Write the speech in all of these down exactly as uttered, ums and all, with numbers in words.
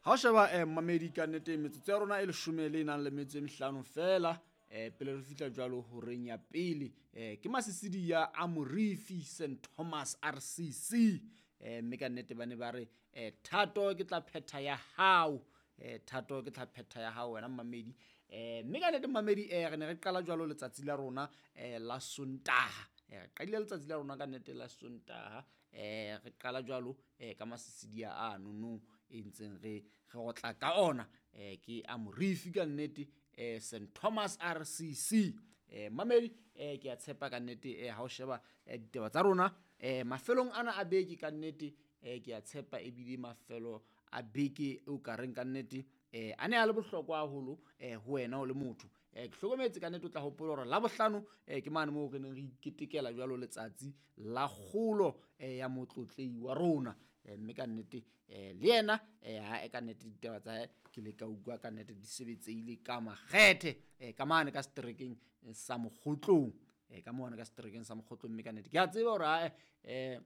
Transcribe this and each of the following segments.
Ha o sheba eh, mmamedi, ka nnete metsotso ya rona e leshome le nang le metso e mehlano fela eh, pele re fihla jwalo horeng ya pele. eh, ke masisidi ya Amorifi Saint Thomas R C C. eh, mme ka nnete ba ne ba re eh, thato ke tla phetha ya hao, eh, thato ke tla phetha ya hao wena mmamedi. eh, mme ka nnete mmamedi, eh, re ne re qala jwalo letsatsi la rona eh, la Sontaha. eh, re qadile letsatsi la rona ka nnete la Sontaha, eh, re qala jwalo eh, ka masisidia a nonong e ntseng re re otla ka ona. eh, ke Amorifi ka nnete, eh, Saint Thomas R C C. eh, mamedi, eh, ke a tshepa ka nnete eh, ha o sheba eh, ditaba tsa rona eh, mafelong ana a beke, ka nnete eh, ke a tshepa ebile mafelo a beke o ka reng ka nnete eh, a ne a le bohlokwa haholo eh, ho wena o le motho. eh, ke hlokometse ka nnete o tla hopola hore Labohlano eh, ke mane moo re neng re iketekela jwalo letsatsi la kgolo eh, ya motlotlei wa rona. eh, mme ka nnete eh, le yena eh, ha e ka nnete ditaba tsa hae ke le ka utlwa ka nnete di sebetseile ka makgethe eh, ka mane ka seterekeng sa Mokgotlong, eh, ka mane ka seterekeng sa Mokgotlong. Mme ka nnete ke a tseba hore ae eh,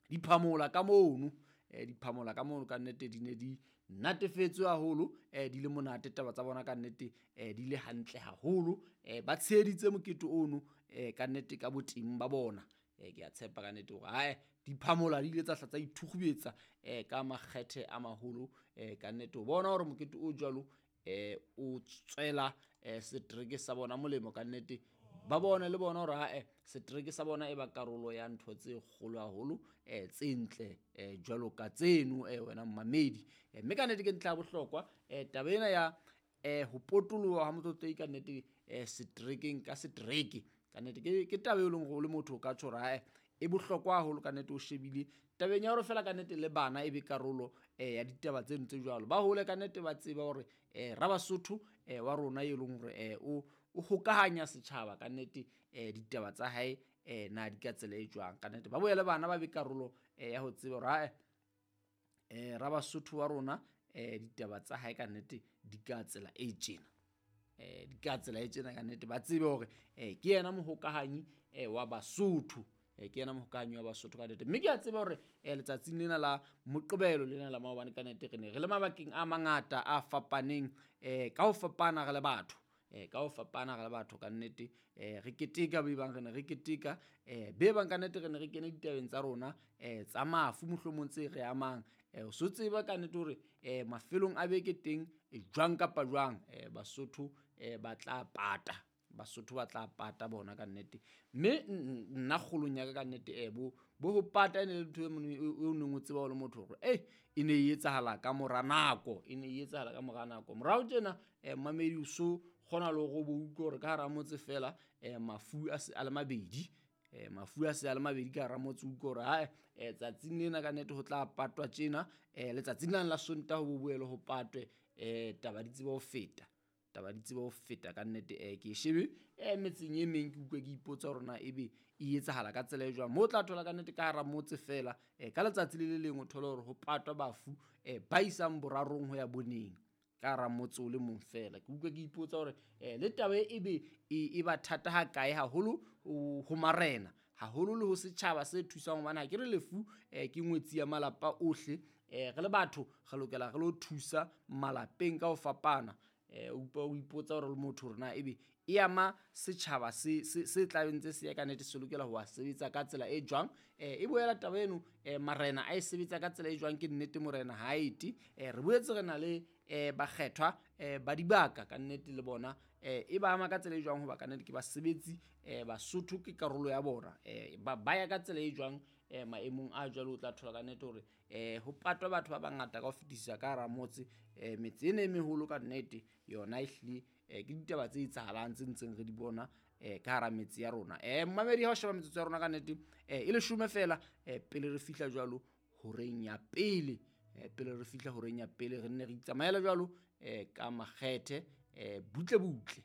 diphamola ka mono, eh, diphamola ka mono ka nnete di ne di natefetswe haholo, eh, di le monate taba tsa bona ka nnete, eh, di le hantle haholo. eh, ba tsheheditse mokete ono eh, ka nnete ka boteng ba bona. eh, ke a tshepa ka nnete hore ae diphamola di ile tsa hla tsa ithukgubetsa eh, ka makgethe a maholo eh, ka nnete o bona hore mokete o jwalo eh, o tswela eh, setereke sa bona molemo. Ka nnete ba bone le bona hore ae setereke sa bona e ba karolo ya ntho tse kgolo haholo, eh, tse ntle eh, jwalo ka tseno eh, wena mmamedi. eh, mme ka nnete ke ntlha ya bohlokwa eh, taba ena ya eh, ho potoloha ha motlotlei ka nnete eh, seterekeng ka setereke. Ka nnete ke, ke taba e leng hore o le motho o ka tjho hore ae e bohlokwa haholo. Ka nnete o shebile tabeng ya hore fela ka nnete le bana e be karolo eh, ya ditaba tseno tse jwalo, ba hole ka nnete ba tseba hore eh, Rabasotho eh, wa rona e leng hore eh, o o hokahanya setjhaba ka nnete, eh, ditaba tsa hae eh, na di ka tsela e jwang. Ka nnete ba boele bana ba be karolo eh, ya ho tseba hore ae eh, Rabasotho wa rona eh, ditaba tsa hae ka nnete di ka tsela e tjena, eh, di ka tsela e tjena. Ka nnete ba tsebe hore eh, ke yena mohokahanyi eh, wa Basotho, eh, ke yena mohokahanyi wa Basotho ka nnete. Mme ke a tseba hore eh, letsatsing lena la Moqebelo lena la maobane ka nnete re ne re le mabakeng a mangata a fapaneng, eh, ka ho fapana re le batho, eh, ka ho fapana re le batho ka nnete eh, re keteka be bang re ne re keteka eh, be bang ka nnete re ne re kene ditabeng tsa rona eh, tsa mafu mohlomong tse re amang. eh, o so tseba ka nnete hore eh, mafelong a beke teng eh, jwang kapa jwang eh, Basotho eh, ba tla pata, Basotho ba tla pata bona ka nnete. Mme nna kgolong ya ka ka nnete eh, bo bo ho pata e ne le ntho e mone o neng o tseba o le motho hore eh e ne e etsahala ka mora nako, e ne e etsahala ka mora nako. Morao tjena eh, mmamedi, o so kgona le hore o bo utlwe hore ka hara motse fela eh, mafu a se a le mabedi, eh, mafu a se a le mabedi ka hara motse. O utlwe hore hae eh, tsatsing lena ka nnete ho tla patwa tjena, eh, letsatsing lane la Sontaha ho bo boele ho patwe, eh, taba di tsebe ho feta, taba di tsebe ho feta ka nnete. eh, ke e shebe eh, metseng e meng, ke utlwe ke ipotsa hore na ebe e etsahala ka tsela e jwang mo o tla thola ka nnete ka hara motse fela eh, ka letsatsi le le leng o thole hore ho patwa bafu eh, ba isang borarong ho ya boneng ka hara motse o le mong fela. Ke utlwe ke ipotsa hore eh, le taba e ebe e, e ba thata ha kae haholo ho ho marena haholo le ho setjhaba se thusang, hobane ha ke re lefu eh, ke ngwetsi ya malapa ohle. eh, re le batho re lokela re lo thusa malapeng ka ho fapana. eh, o utlwa o ipotsa hore le motho hore na ebe e ama setjhaba se se se tlabeng tse se ya ka nnete se lokela ho sebetsa ka tsela e jwang. eh, e boela taba eno eh, marena a e sebetsa ka tsela e jwang. Ke nnete morena ha ete eh, re boetse re na le eh, bakgethwa eh, ba dibaka ka nnete le bona eh, e ba ama ka tsela e jwang, hoba ka nnete ke basebetsi eh, Basotho ke karolo ya bona, eh, ba ba ya ka tsela e jwang eh, maemong a jwalo. O tla thola ka nnete hore eh, ho patwa batho ba bangata ka ho fetisisa ka hara motse. eh, metse ena e meholo ka nnete yona ehlile eh, ke ditaba tse etsahalang tse ntseng re di bona eh, ka hara metse ya rona. eh, mmamedi, ha o sheba metsotso ya rona ka nnete eh, e leshome fela eh, pele re fihla jwalo horeng ya pele, eh, pele re fihla horeng ya pele re nne re itsamaela jwalo eh, ka makgethe eh, butle butle.